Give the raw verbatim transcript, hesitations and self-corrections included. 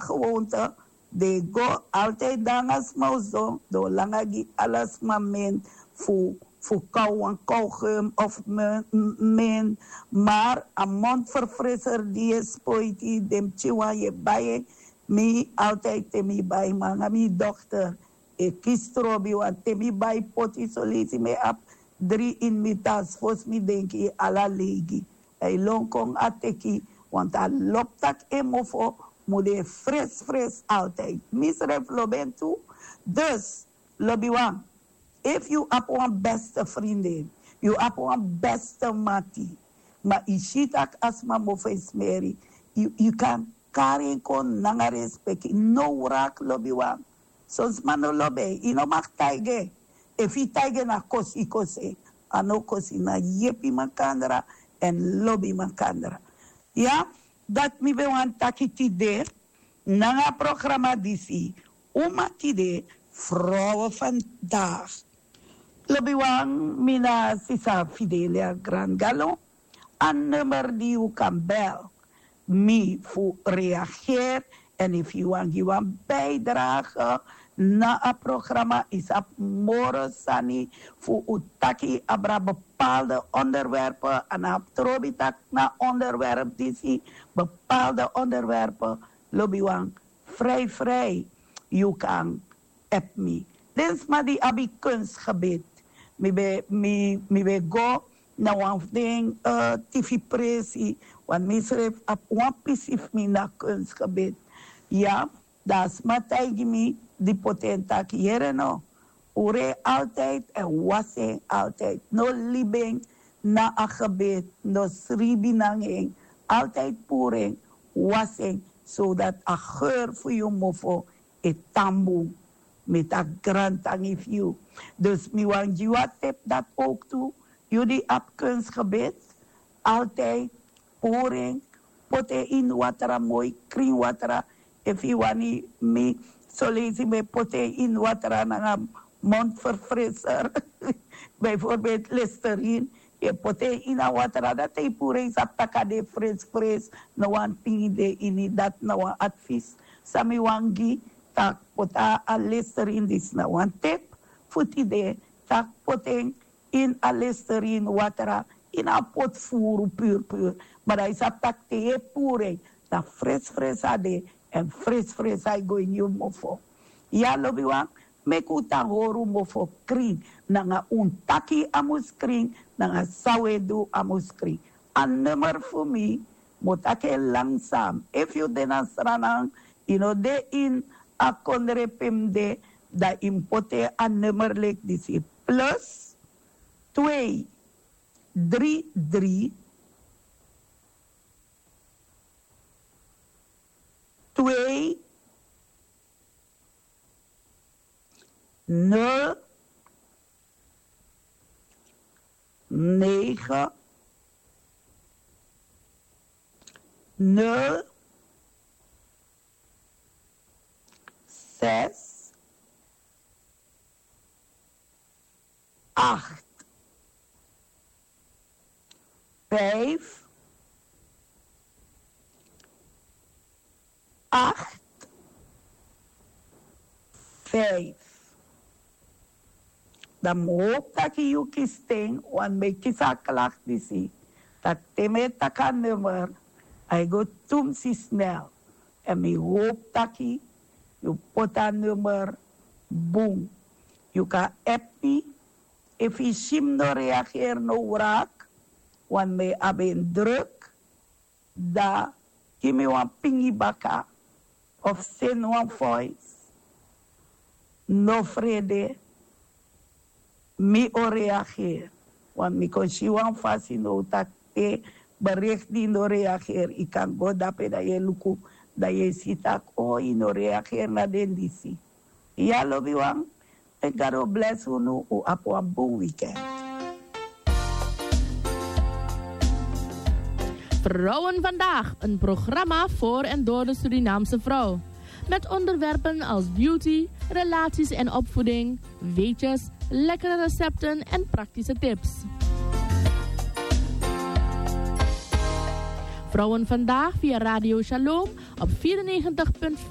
gewoonte, den e go altijd nanga sma oso, den o langa gi ala sma men fu fu kaw wan kawgum of men. Maar a mondverfrisser di yu e spoiti den pikin wan yu e bai en. Mi altijd te mi bai nanga mi dokter e kisi trobi wan te mi bai poti solisi mi e abi dri ini mi tas fosi mi denki ala leigi. A e lon kon a teki want a lobi tak' en mofo mu de fresfres altijd mi srefi lobi en tu. Dus lobiwan, efu yu abi wan beste frindin, yu abi wan beste mati, ma yu si tak' a sma mofo e smeri, yu kan kari en kon nanga respeki no wraki lobiwan. Son sma no lobi en yu no maki taigi en. Efu yu taigi en na kosi yu kosi en. A no kosi na yepi makandra èn lobi makandra. Ya, dati mi ben wani taki tide nanga a programa disi. Uma tide, frowe vandaag. Lobiwan, mi na sisa Fidelia Grand Galon. A nummer di yu kan bel mi fu reageer. En efu yu wani gi wan bijdrage na a programa, yu sabi moro sani fu un taki abra bepaalde onderwerpen. A na abi trobi taki na onderwerp disi, bepaalde onderwerpen. Lobiwan, vrij vrij yu kan app mi. Den sma di abi kunstgebit, mi ben mi mi ben go na wan fu den tifi presi. Want mi srefi abi wan pisi fu mi na kunstgebit. Ya, dan a sma taigi mi di poti en taki yere no, un rei altijd èn wasi en altijd no libi en na a gebit, no sribi nanga en, altijd puru en, wasi en, zodat a geur fu yu mofo e tan bun. Mi taki grantangi fu yu. Dus mi wani gi yu a tep dati owk tu, yu di abi kunstgebit, altijd puru en, poti en ini watra moi krin watra. Efu yu wani mi soleisi mi e poti en ini watra nanga mondverfriser, bijvoorbeeld listerin, yu e poti en ini a watra dati e puru en yu sabi tak' a de frisfris. No wan tin yu de ini dati na wan advis san mi wani gi, tak' poti a listerin disi na wan tep fu tide, tak' poti en ini a listerin watra, ini a poti furu purpur. Ma dan yu sabi tak' te yu e puru en, dan frisfris a de, èn frisfris a e go ini yu mofo. Ya lobiwan, meki un tan hori un mofo krin, nanga un taki a mus krin, nanga san un e du a mus krin. A nummer fu mi, mi o taki en langsan. Efu yu de na sranan, yu no de ini a kondre pe mi de, dan yu mus poti en a nummer leki disi, plus twee dri dri twee nul negen nul zes acht vijf acht vijf. Dan mi hopi taki yu kisi ten, want mi e kisi a klak disi, tak' te mi e taki a nummer, a e go tumsi snel. Èn mi hopi taki yu poti a nummer bun. Yu kan app mi. Efu yu si mi no reageri no wraki, want mi e abi en druk, dan gi mi wan pingi baka of seni wan voice. No frede, mi o reageri. Want mi kon si wan fasi now tak' te berikti no reageri, yu kan go dape dan yu e luku, dan yu e si tak' o yu no reageri na den disi. Ya lobiwan, meki gado blesi unu. Un abi wan bun weekend. Vrouwen vandaag, een programma voor en door de Surinaamse vrouw. Met onderwerpen als beauty, relaties en opvoeding, weetjes, lekkere recepten en praktische tips. Vrouwen vandaag via Radio Shalom op vierennegentig punt vijf.